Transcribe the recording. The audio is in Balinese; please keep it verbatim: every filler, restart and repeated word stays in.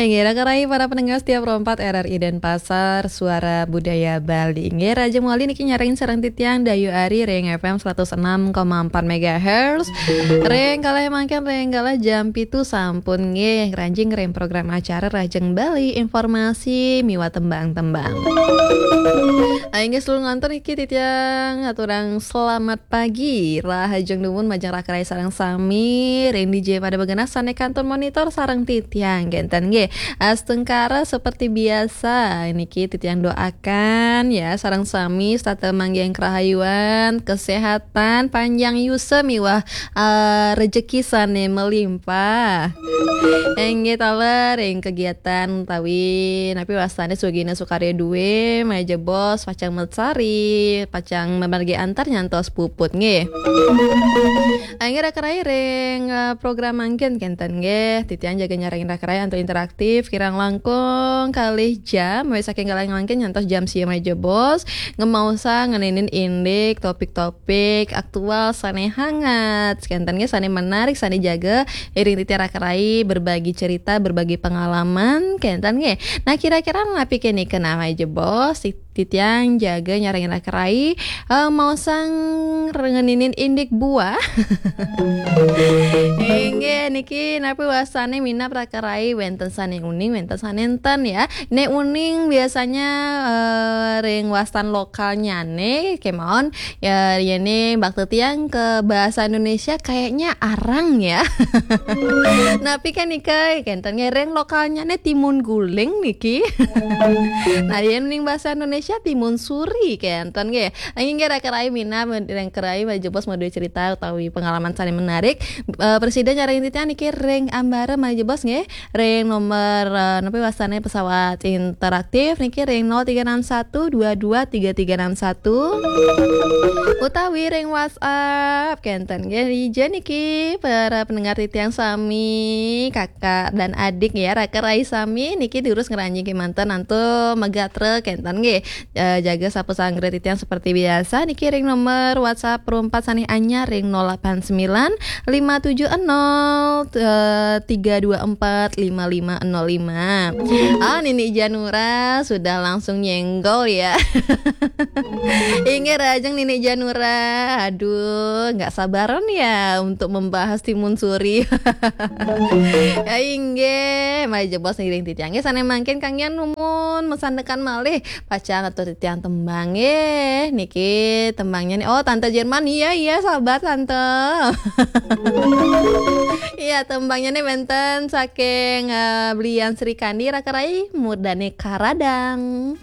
Inggih, raka rai para pendengar setia Pro empat R R I Denpasar, Suara Budaya Bali. Inggih, Raja Muali niki nyarengin sareng titiang Dayu Ari ring F M seratus enam koma empat megahertz. Ring kalih mangkin, ring kalih jam pitu sampun nggih, ngranjing ring program acara Rahajeng Bali, informasi miwah tembang-tembang. Ah, inggih, sedulur ngantur niki titiang aturang selamat pagi, rahajeng dumun majeng raka rai sareng sami, ring dija pada begenah sane kantun monitor sareng titiang, kenten nggih. Astungkara seperti biasa, niki titiang doakan ya, sareng sami setata manggihin kerahayuan, kesehatan, panjang yusa miwah, eh, rejeki sane melimpah. Inggih taler ring kegiatan utawi napi wastane swagina sukarya due, malih jebos pacang mesari, pacang mamargi antar nyantos puput nggih. Inggih raka rai ring, eh, program mangkin kenten nggih. Titiang jaga nyarengin raka rai antuk interaktif kirang langkung kalih jam, mulai saking kalih mangkin nyantos jam sia malih jebos, ngemaosang ngeninin indik topik-topik aktual sane hangat, kenten nggih, sane menarik, sane jaga iring titiang raka rai berbagi cerita, berbagi pengalaman, kenten nggih. Nah, kira-kira napi kene kena malih jebos, tit-, titiang jaga nyarengin raka rai, eh, maosang ngeninin indik buah. Inggih, niki napi wastane minab raka rai, wenten sane uning, wenten sane enten ya. Nek uning biasanya, eh, ring wastan lokalnyane kemawon, ya, yene bakti tiang ke bahasa Indonesia kayaknya arang ya. Napi kan nika, kenten nggih, ring lokalnyane timun guling niki. Nah, yen ning bahasa Indonesia timun suri kenten nggih. Inggih raka rai minab, ring raka rai malih jebos madue cerita utawi pengalaman sane menarik. Eh, prasida nyarengin titiang niki ring ambara malih jebos nggih. Ring nomor, eh, napi wastane pesawat interaktif niki ring nol tiga enam satu dua dua tiga tiga enam satu. Utawi ring WhatsApp kenten nggih, dija niki para pendengar titiang sami, kakak dan adik ya, raka rai sami niki durus ngranjing kemanten antuk magatra kenten nggih. Eh, jaga sapa sanggra titiang seperti biasa niki ring nomor WhatsApp Pro empat sane anyar ring nol delapan sembilan lima tujuh nol, eh, tiga dua empat lima lima nol lima. Ah, Nini Janura sudah langsung nyenggol ya. Inggih rahajeng Nini Janura. Aduh, nggak sabaran ya untuk membahas timun suri. Ya inggih, malih jebos ngiring titiang. Nggih, sane mangkin kanggihan numun masandekan malih. Pacang atur titiang tembang nggih. Niki tembangnya nih. Oh, Tante Jerman. Iya, iya, sabar Tante. Iya, tembangnya nih wenten saking, eh, Blian Sri Kandi, raka rai, Murdane Karadang.